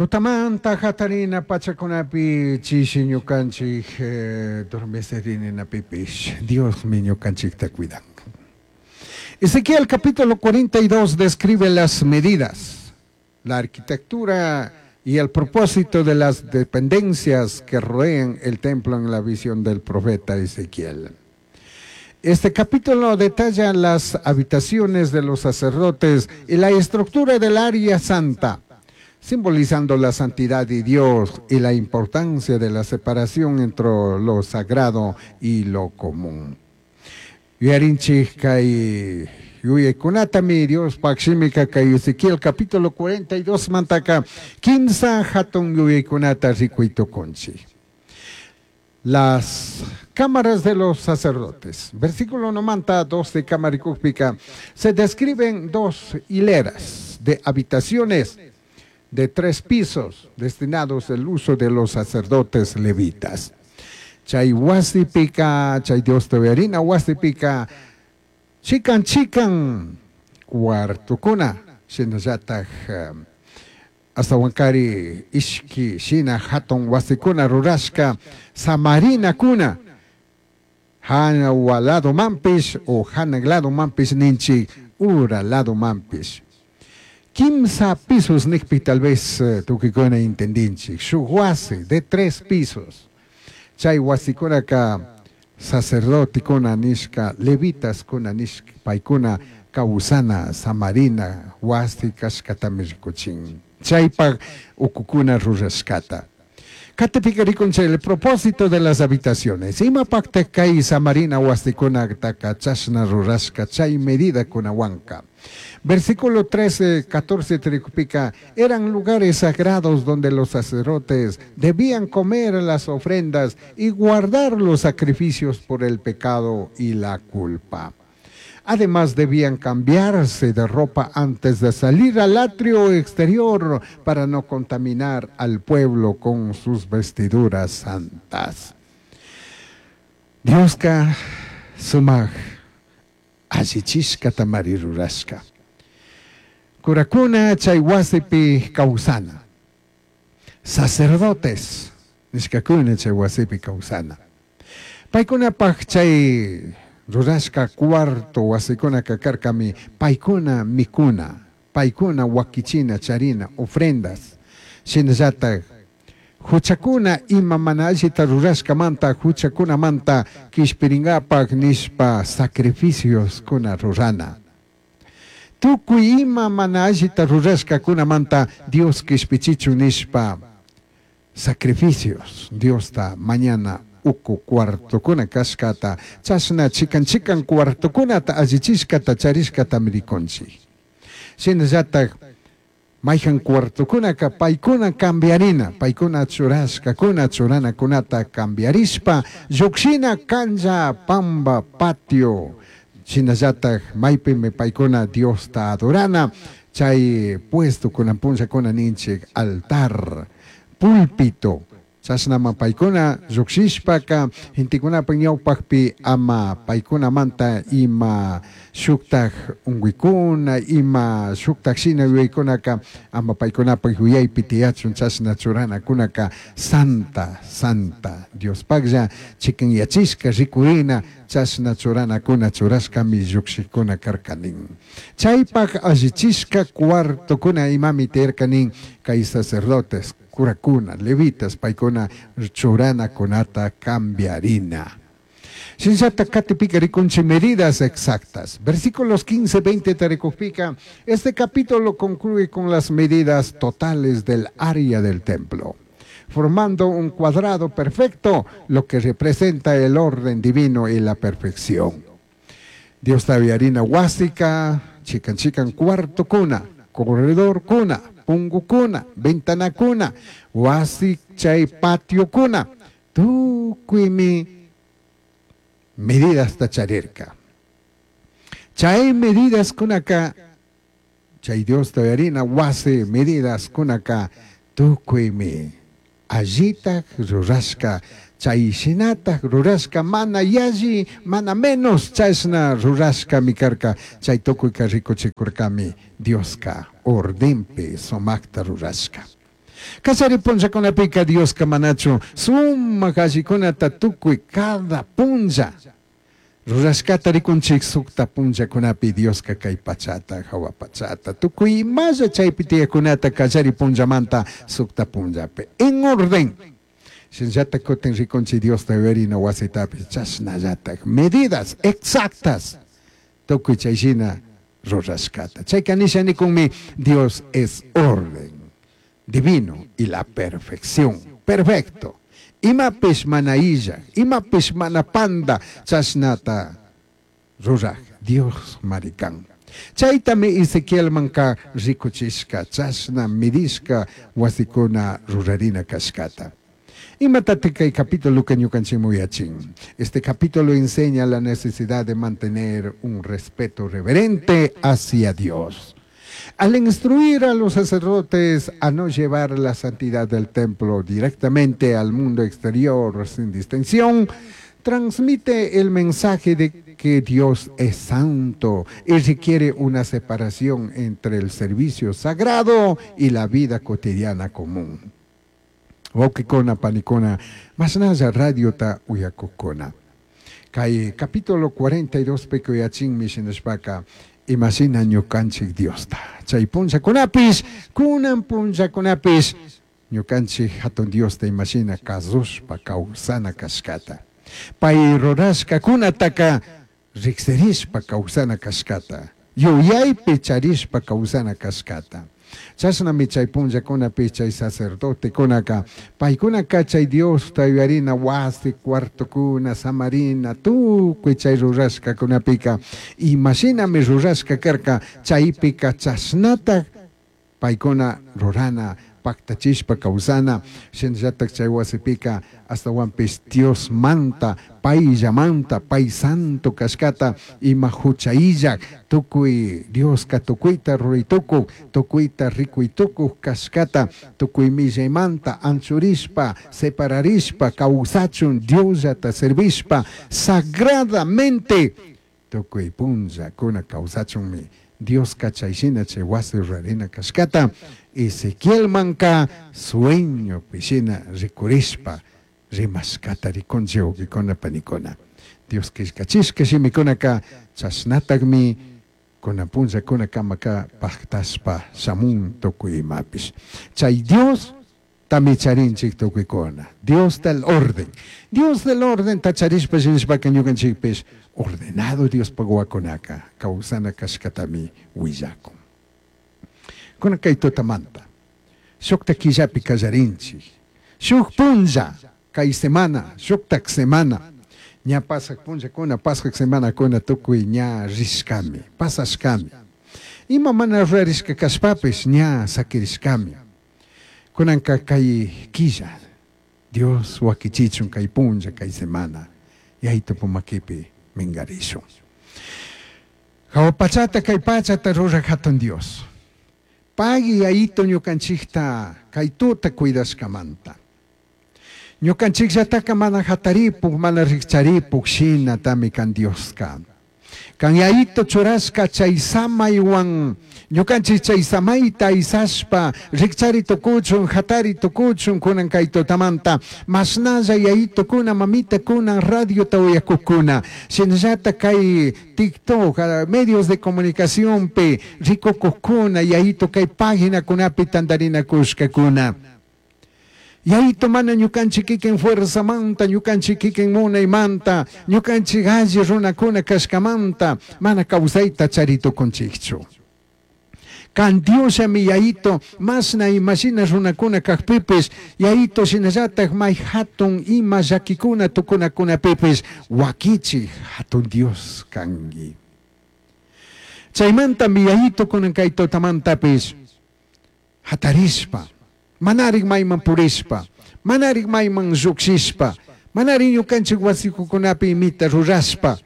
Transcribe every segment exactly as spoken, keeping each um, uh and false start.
Tutamanta hatarina pachakunapi chishi ñukanchik eh, dormecerininapipish Diosmi ñukanchikta cuidanka. Ezequiel capítulo cuarenta y dos describe las medidas, la arquitectura y el propósito de las dependencias que rodean el templo en la visión del profeta Ezequiel. Este capítulo detalla las habitaciones de los sacerdotes y la estructura del área santa, simbolizando la santidad de Dios y la importancia de la separación entre lo sagrado y lo común. Yuyarinchik kay yuyaykunatami Diospaj shimika kay Ezequiel capítulo cuarenta y dos mantaka kimsa hatun yuyaykunata rikuy tukunchik. Las cámaras de los sacerdotes. Versículo uno dos de Camaricúpica se describen dos hileras de habitaciones de tres pisos destinados al uso de los sacerdotes levitas. Chay wasipika, chay Dios harina wasipika, chikan chikan cuartokuna, shinallataj astawankari ishki shina hatun wasikuna rurashka samarinakuna hawa lado manpish o hanag lado manpish ninchik ura lado manpish. Kimsa pisos nikpi tal vez eh, tukikuna entendinchik shuk wasi de tres pisos. Chay wasikunaka sacerdotekuna nishka levitaskuna nishka paykuna kawsana samarina wasi kashkatami rikuchin chaypak ukukuna rurashkata. Katipika rikunchik el propósito de las habitaciones. Imapakta kay samarina wasikunataka chashna rurashka chay medida kunawanka. Versículo trece, catorce tricupika, eran lugares sagrados donde los sacerdotes debían comer las ofrendas y guardar los sacrificios por el pecado y la culpa. Además, debían cambiarse de ropa antes de salir al atrio exterior para no contaminar al pueblo con sus vestiduras santas. Dioska sumaj allichishkatamari rurashka. Kurakuna chay wasipi kawsana. Sacerdotes nishkakuna chay wasipi kawsana. Paykunapaj chay rurashka cuarto wasikunaka karkami paykuna mikuna, paykuna wakichina charina ofrendas. Shinallataj huchakuna ima mana allita rurashkamanta huchakunamanta kishpiringapaj nishpa sacrificios kuna rurana. Tukuy ima mana allita rurashkakunamanta Dios kishpichichun nishpa sacrificios Diosta mañana uku cuartokuna kashkata chashna chikan chikan cuartokunata allichishkata charishkatami rikunchik. Shinallataj mayjan cuartokunaka paykuna cambiarina, paykuna churashkakuna churanakunata cambiarishpa llukshina cancha pamba patio shinallataj maypimi paykuna Diosta adorana chay puesto kunan punllakuna ninchik altar, púlpito. Chashnama paykuna llukshishpaka gentekunapa ñawpakpi ama paykunamanta ima shuktaj unkuykuna ima shuktaj shina yuyaykunaka ama paykunapak yuyaypi tiyachun chashna churanakunaka santa santa Diospaklla chikanyachishka rikurina chashna churanakuna churashkami llukshikuna karkanin. Chaypak allichishka cuartokuna imami tiyarkanin kay sacerdotes kurakuna, levitas, paykuna churanakunata cambiarina. Shinllata katipika rikunchik medidas exactas. Versículos quince, veinte tarikupika. Este capítulo concluye con las medidas totales del área del templo, formando un cuadrado perfecto, lo que representa el orden divino y la perfección. Dios harina wasika, chikan chikan cuarto kuna, corredor kuna, pungu kuna, ventana kuna, wasi chay patio kuna, tukuymi medidas tacharirka. Chay medidas kunaka, chay Dios harina wasi medidas kunaka, tukuymi allitaj rurashka, chay shinataj rurashka, mana yalli, mana menos chashna rurashka mikarka, chay tukuyka rikuchikurkami Dioska ordenpi sumakta rurashka. Kallari punllakunapika Dioska manachu sumak allikunata tukuy cada punlla rurashkata rikunchik sukta punllakunapi Dioska kay pachata hawa pachata tukuy imalla chaypi tiyakunata kallari punllamanta sukta punllapi en orden. Shinallata kutin rikunchik Diosta yuyarina wasitapish chashnallatak medidas exactas tukuy chayshina rurashkata. Chayka nisha nikunmi Dios es orden divino y la perfección. Perfecto. Imapish mana illaj, imapish mana panda, chashnata ruraj Dios marikan. Chaytami Ezequielmanka rikuchishka, chashna midishka wasikuna rurarina kashkata. Imatataq kay capítulo ñukanchikman yuyachin. Este capítulo enseña la necesidad de mantener un respeto reverente hacia Dios. Al instruir a los sacerdotes a no llevar la santidad del templo directamente al mundo exterior sin distinción, transmite el mensaje de que Dios es santo y requiere una separación entre el servicio sagrado y la vida cotidiana común. Wawqikuna panikuna, mashnalla radiota uyakukuna. Kay capítulo cuarenta y dos pika yuyachinmi shinashpaka, imashina ñukanchik Diosta. Chay punllakunapish, kunan punllakunapish, ñukanchik hatun Diosta imashina kasushpa kawsana kashkata. Pay rurashkakunataka riksirishpa kawsana kashkata. Yuyaypi charishpa kawsana kashkata. Chashnami chay punllakunapi chay sacerdotekunaka paykunaka chay Diosta yuyarina wasi cuartokuna samarina tukuy chay rurashkakunapika imashinami rurashka karka chaypika chashnata paykuna rurana paktachishpa kawsana shinallatak chay wasipika astawanpish Dios manta payllamanta pay santo kashkata ima huchayllak tukuy Dioska tukuyta ruraytukuk tukuyta rikuytukuk kashkata tukuy millaymanta anchurishpa separarishpa kawsachun Diosllata servishpa sagradamente tukuy punllakuna kawsachunmi Dioska chayshina chay wasi rurarina kashkata Ezequielmanka sueño pishina rikurishpa rimashkata rikunchik wawqikuna panikuna. Dios killkachishka shimikunaka chashnatakmi kunan punllakuna kamaka paktashpa shamun tukuy imapish. Chay Dios tami charinchik tukuykuna. Dios del orden. Dios del orden tacharishpa shinashpaka ñukanchikpish ordenado Dios wawakunaka kawsana kashkatami willakun. Kunan kay tutamanta shukta killapi kallarinchik. Shuk punlla kay semana, shuktak semana. Ña pasak punllakuna, pasak semanakuna tukuy ña rishkami, pasashkami. Ima mana rurarishka kashpapish ña sakirishkami. Kunanka kay killa, Dios wakichichun kay punlla, kay semana. Yaytupu makipi mingarishun. Hawa pachata kay pachata ruraj hatun Dios. Pagui yayito ñukanchikta kay tuta cuidashkamanta. Ñukanchikllataka mana hataripuk, mana rikcharipuk shina tami kan Dioska. Kan yayito churashka chay samaywan, ñukanchik chay samayta aysashpa, rikchari tukuchun, hatari tukuchun, kunan kay tutamanta, mashnalla yayito kuna, mamita kuna, radiota uyakukuna, shinallata kay TikTok, medios de comunicación pi, rikukukuna, yayito kay paginakunapi tantarinakushkakuna. Yayito mana ñukanchik kikin fuerzamanta, ñukanchik kikin munaymanta, ñukanchik alli runakuna kashkamanta, mana kawsayta charitukunchikchu. Kan Diosllami yayito, masna imashina runakuna kajpipis, yayito shinallatak may hatun ima llakikuna tukunakunapipis, wakichik hatun Dios kanki. Chaymantami yayito kunan kay tutamantapis, hatarishpa, manarik mayman purishpa, manarik mayman llukshishpa, manarik ñukanchik wasikukunapi imita rurashpa,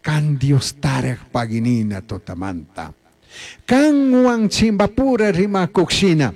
kan Dios taraj paginina tutamanta. Kanwan chimbapura rimakukshina.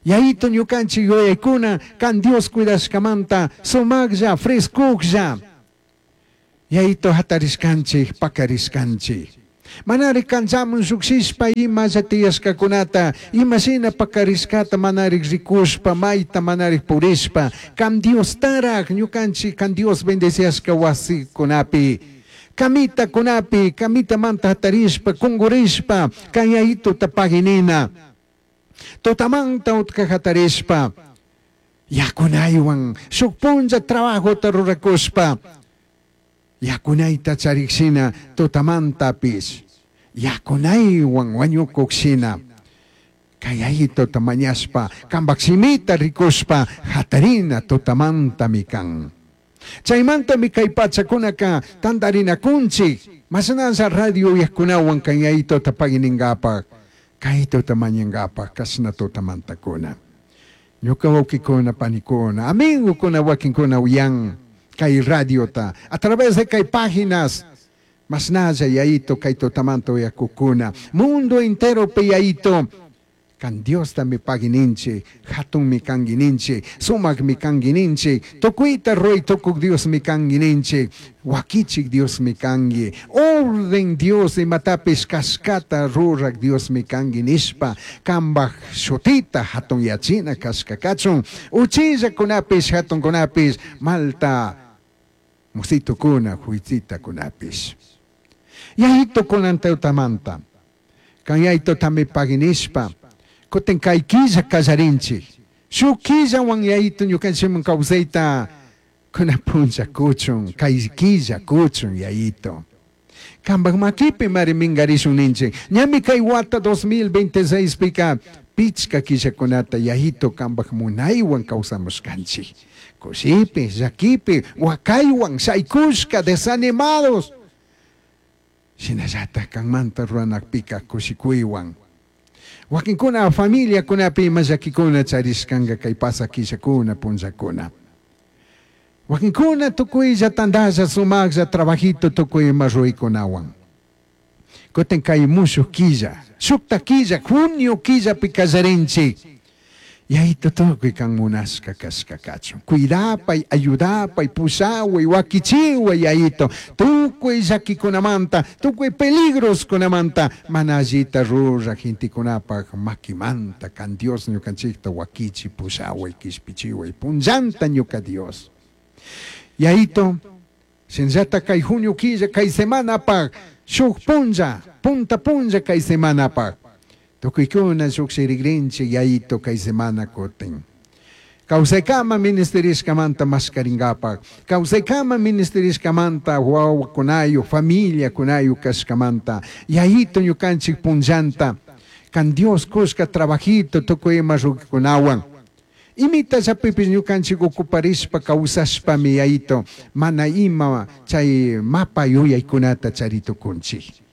Yayito ñukanchik yuyaykuna, kan Dios cuidashkamanta, sumaklla, frescuklla. Yayito hatarishkanchik, pakarishkanchik. Manari kanchaman llukshishpa imalla tiyashkakunata, imashina pakarishkata manari rikushpa, mayta manari purishpa, kan Diostaraj ñukanchik kan Dios bendeciashka wasikunapi, camitakunapi, camitamanta hatarishpa, kungurishpa, kan Yayituta paginina. Tutamanta utka hatarishpa, yakunaywan, shuk punlla trabajota rurakushpa, yakunayta charikshina tutamantapish, yakunaywan wañukukshina, kay Yayituta mañashpa, kanpak shimita rikushpa, hatarina tutamantami kan. Chaymantami kay pachakunaka tantarinakunchik, mashnalla radio uyajkunawan kan Yayituta pagininkapak, kaytuta mañankapak, kashna tutamantakuna. Ñuka wawkikuna, panikuna, amigokuna, wakinkuna uyan kay radiota, a través de kay páginas, mashnalla Yayito kay tutamanta uyakukuna, mundo entero pe Yayito, kan Diostami pagininchik, hatunmi kanguininchik, sumakmi kanguininchik, tukuyta ruray tukuk Diosmi kanguininchik, wakichik Diosmi kangi, orden Dios imatapish kashkata rurak Diosmi kangi nishpa, kanpak shutita hatun yachina kashka kachun, uchillakunapish hatunkunapish, malta musitukuna, huitzitakunapish. Yayito kunan teutamanta, kan Yayitotami paginishpa, kutin kay killa kallarinchik, shuk killawan Yayito ñukanchikman kawsayta kuna punlla kuchun, kay killa kuchun Yayito. Kanpak makipi mari minkarishun ninchik, ñami kay wata dos mil veintiséis pika pichka killakunata Yayito kanpak munaywan kawsamushkanchik. Kushipi, llakipi, wakaywan, shaykushka, desanimados. Shinallatak kanmanta ruranakpika kushikuywan. Wakinkuna familiakunapi ima llakikuna charishkanka kay pasa killakuna punllakuna. Wakinkuna tukuylla tantalla sumaklla trabajito tukuy ima ruraykunawan. Kutin kay mushuk killa, shukta killa, junio killapi kallarinchik. Yayito tukuy kan munashka kashka kachun. Cuidapay, ayudapay, pushaway, wakichiway, Yayito. Tukuy llakikunamanta, tukuy peligroskunamanta, mana allita ruraq gentekunapak makimanta, kan Dios ñukanchikta wakichi, pushaway, kishpichiway, punllanta ñuka Dios. Yayito, shinllata kay junio killa, kay semanapak, shuk punlla, punta punlla kay semanapak. Tukuykuna lluqshirikrinchik Yayito kay semana kutin. Kawsaykama ministerishkamanta mashkarinkapak, kawsaykama ministerishkamanta wawakunayu, familiakunayu kashkamanta, Yayito ñukanchik punllanta, kan Dios kushka trabajito tukuy ima rukikunawan. Imita llapipis ñukanchik ocuparishpa kawsashpami Yayito, mana ima chay mapa yuyaykunata charitukunchik.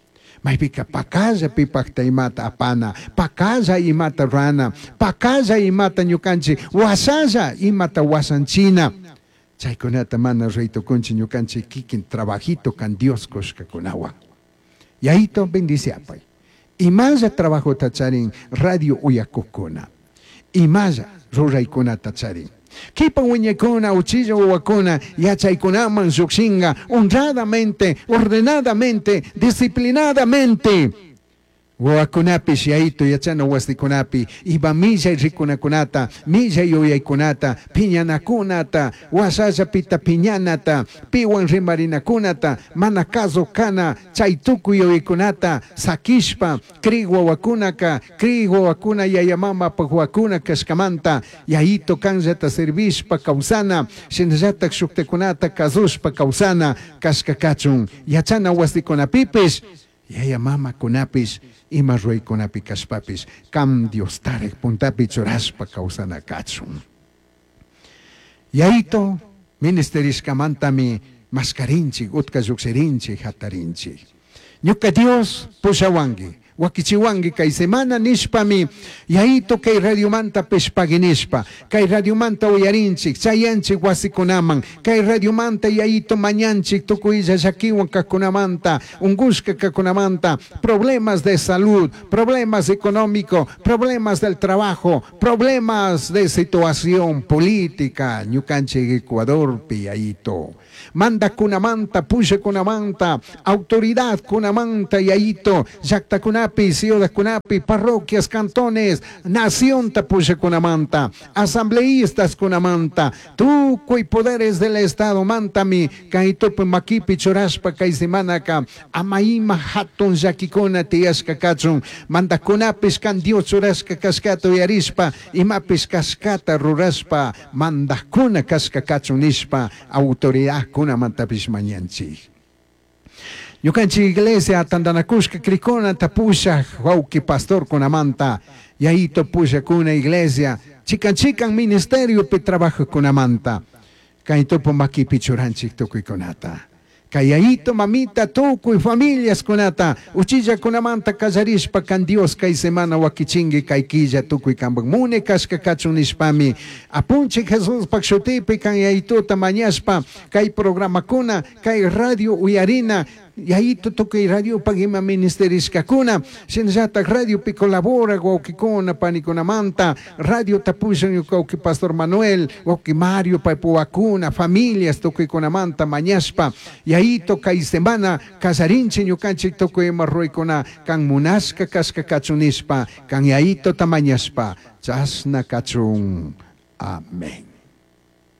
Maypika pakalla pipakta imata apana, pakalla imata rana, pakalla imata ñukanchik, wasalla imata wasanchina. Chaykunata mana raytukunchik ñukanchik kikin trabajito kan Dios kushkakunawan. Yayito bendiciapay. Imalla trabajota charin radio uyakukuna. Imalla ruraykunata charin. Kipan wiñaykuna, uchilla wawakuna, yachaykunaman llukshinka, honradamente, ordenadamente, disciplinadamente. Wawakunapish Yayito yachana wasikunapi, iba millay rikunakunata, millay yuyaykunata, piñanakunata, wasallapita piñanata, piwan rimarinakunata, mana caso kana, chay tukuy yuyaykunata, sakishpa, kri wawakunaka, kri wawakuna yaya mamapak wawakuna kashkamanta, Yayito kanllata servishpa kawsana, shinallatak shuktikunata kasushpa kawsana, kashka kachun, yachana wasikunapipish, yaya mamakunapish, ima ruraykunapi kashpapish, kam Dios tarek puntapi churashpa kawsana kachun. Yayito, ministerishkamantami mashkarinchik, utka llukshirinchik, hatarinchik. Ñuka Dios pushawanki, Wakichiwanki kay semana nishpami Yayito kay radiomantapish pagui nishpa, kay radiomanta uyarinchik, chayanchik wasikunaman, kay radiomanta Yayito mañanchik tukuylla llakiwan kajkunamanta, ungushka kajkunamanta, problemas de salud, problemas económico, problemas del trabajo, problemas de situación política, ñukanchik Ecuadorpi Yayito. Mandakunamanta, pushakunamanta, autoridadkunamanta Yayito, llaktakunapi, ciudadkunapi, parroquias, cantones, nacionta pushakunamanta, asambleístas kunamanta, tukuy poderes del Estado mantami, kay tupu makipi churashpa kay semanaka, ama ima hatun llakikuna tiyashka kachun, mandakunapish kan Dios churashka kashkata uyarishpa, imapish kashkata rurashpa, mandakuna kashka kachun nishpa, autoridadkunamantapish mañanchik. Ñukanchik iglesia tantanakushka crikunata pushaj wawki pastorkunamanta, Yayito pushakuna iglesia, chikan chikan ministeriopi trabajajkunamanta, kay tupu makipi churanchik tukuykunata. Kay yayito, mamita, tukuy familiaskunata, uchillakunamanta kallarishpa kan Dios kay semana wakichinki kay killa tukuy kanpak mune kashka kachun nishpami, apunchik Jesuspak shutipi kan yayituta mañashpa, kay programakuna, kay radio uyarina, Yayito tukuy radiopak ima ministerishkakuna, shinallatak radiopi colabora wawkikuna panikunamanta, radio tapushan ñuka wawki Pastor Manuel, wawki Mario paypuwakuna, familias tukuykunamanta mañashpa, Yayito kay semana kallarinchik ñukanchik tukuy ima ruraykuna kan munashka kashka kachun nishpa, kan Yayitota mañashpa, chashna kachun. Amén.